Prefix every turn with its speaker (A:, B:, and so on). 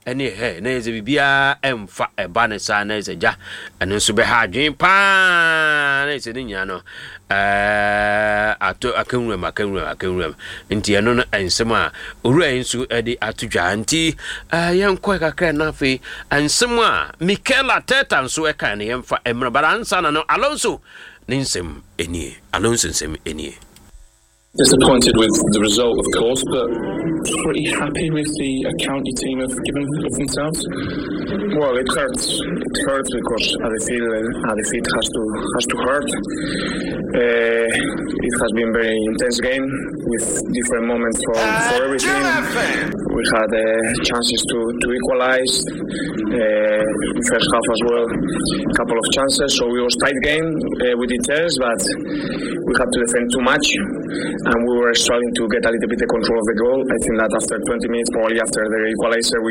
A: Ɛne hɛ na yɛ sɛ biribiara ɛmfa ɛba ne saa na yɛ sɛ gya ɛno nso bɛha adwene paa na yɛ sɛ ne nyinaa no ɛɛ ato akawuram akawuram akawuram nti ɛno no nsɛm a owura yi nso ɛde ato dwa nti ɛɛ yɛnkɔ kakra na afei nsɛm a Mikel Arteta nso ɛka no yɛmfa mmerɛ bara ansa na no Alonso ne nsɛm nie Alonso nsɛm nie.
B: Disappointed with the result, of course, but pretty happy with the account your team have given of themselves.
C: Well, it hurts. It hurts because a defeat, a defeat has to has to hurt. It has been very intense game with different moments for, for everything. We had chances to, to equalize first half as well, a couple of chances. So it was tight game with details, but we had to defend too much, and we were struggling to get a little bit the control of the goal. I think that after 20 minutes, probably after the equalizer,